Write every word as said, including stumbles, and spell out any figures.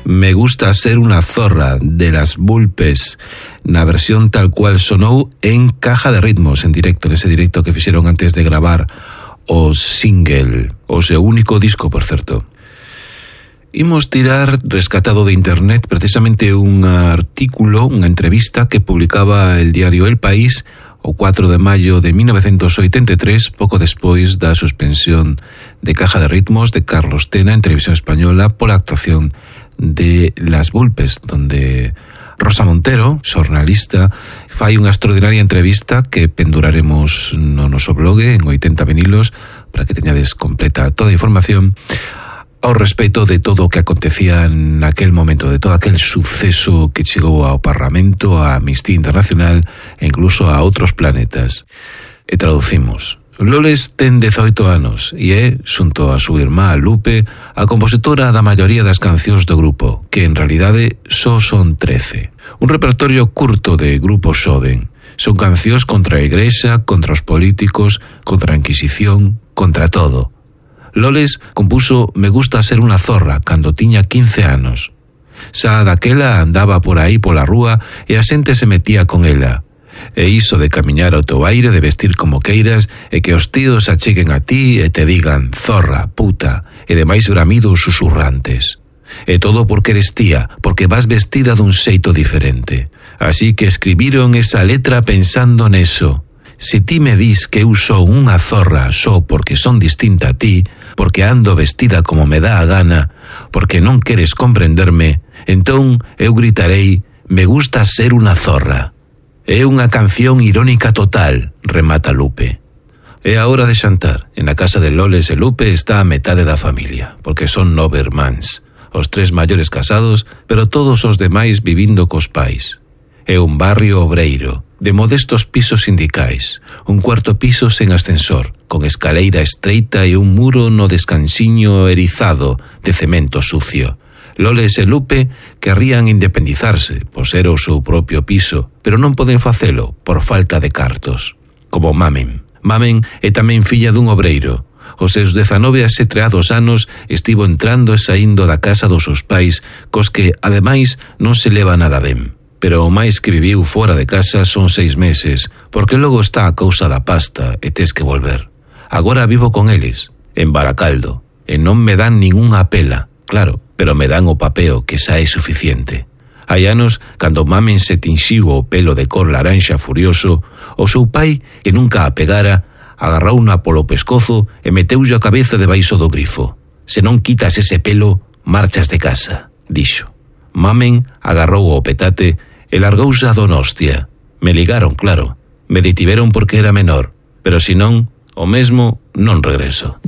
Me gusta ser una zorra, de Las Vulpes, na versión tal cual sonou en Caja de Ritmos, en directo, nese directo que fixeron antes de gravar o single, o seu único disco, por certo. Imos tirar rescatado de internet precisamente un artículo, unha entrevista que publicaba el diario El País o cuatro de maio de mil novecientos oitenta e tres, pouco despois da suspensión de Caja de Ritmos de Carlos Tena en Televisión Española pola actuación de Las Vulpes, donde Rosa Montero, xornalista, fai unha extraordinaria entrevista que penduraremos no noso blog en oitenta vinilos para que teñades completa toda a información ao respecto de todo o que acontecía naquel momento, de todo aquel suceso que chegou ao Parlamento, a Amnistía Internacional e incluso a outros planetas. E traducimos. Loles ten dezoito anos e é, xunto a súa irmá Lupe, a compositora da maioría das cancións do grupo, que en realidade só son trece. Un repertorio curto de grupo xoven. Son cancións contra a Igrexa, contra os políticos, contra a Inquisición, contra todo. Loles compuso Me gusta ser unha zorra cando tiña quince anos. Xa daquela andaba por aí pola rúa e a xente se metía con ela. E iso de camiñar ao teu aire, de vestir como queiras, e que os tíos acheguen a ti e te digan zorra, puta, e demais bramidos susurrantes. E todo porque eres tía, porque vas vestida dun xeito diferente. Así que escribiron esa letra pensando neso. Se ti me dis que eu son unha zorra só porque son distinta a ti, porque ando vestida como me dá a gana, porque non queres comprenderme, entón eu gritarei, me gusta ser unha zorra. É unha canción irónica total, remata Lupe. É a hora de xantar. En a casa de Loles e Lupe está a metade da familia, porque son nove irmáns, os tres maiores casados, pero todos os demais vivindo cos pais. É un barrio obreiro, de modestos pisos sindicais, un cuarto piso sen ascensor, con escaleira estreita e un muro no descansiño erizado de cemento sucio. Loles e Lupe querrían independizarse, poser o seu propio piso, pero non poden facelo por falta de cartos. Como Mamen. Mamen é tamén filla dun obreiro. Os seus dezanove asetreados anos estivo entrando e saindo da casa dos seus pais, cos que, ademais, non se leva nada ben. Pero o máis que viviu fora de casa son seis meses, porque logo está a cousa da pasta e tes que volver. Agora vivo con eles, en Baracaldo, e non me dan ningunha pela, claro, pero me dan o papeo que xa é suficiente. Hai anos, cando Mamen se tinxiu o pelo de cor laranxa furioso, o seu pai, que nunca a pegara, agarrouna polo pescozo e meteulle a cabeza debaixo do grifo. Se non quitas ese pelo, marchas de casa, dixo. Mamen agarrou o petate e largouse a Donostia. Me ligaron, claro. Me detiveron porque era menor, pero si non, o mesmo non regreso.